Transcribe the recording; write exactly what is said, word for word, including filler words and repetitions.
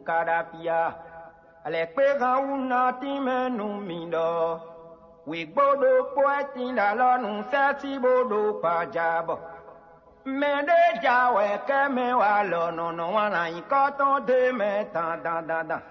Kaɖapiya, alɛkpéhan wú ná tínmɛ nú mi ɖɔ wǐgbó ɖokpó wɛ tín ɖo alɔ nú sɛ́sí bó ɖo kpaja bɔ mɛ ɖé ja wɛ kɛ́ mɛ wa lɔ nɔ nɔ wǎn nyǐkɔ tɔn d'é mɛ dan dan dan dan.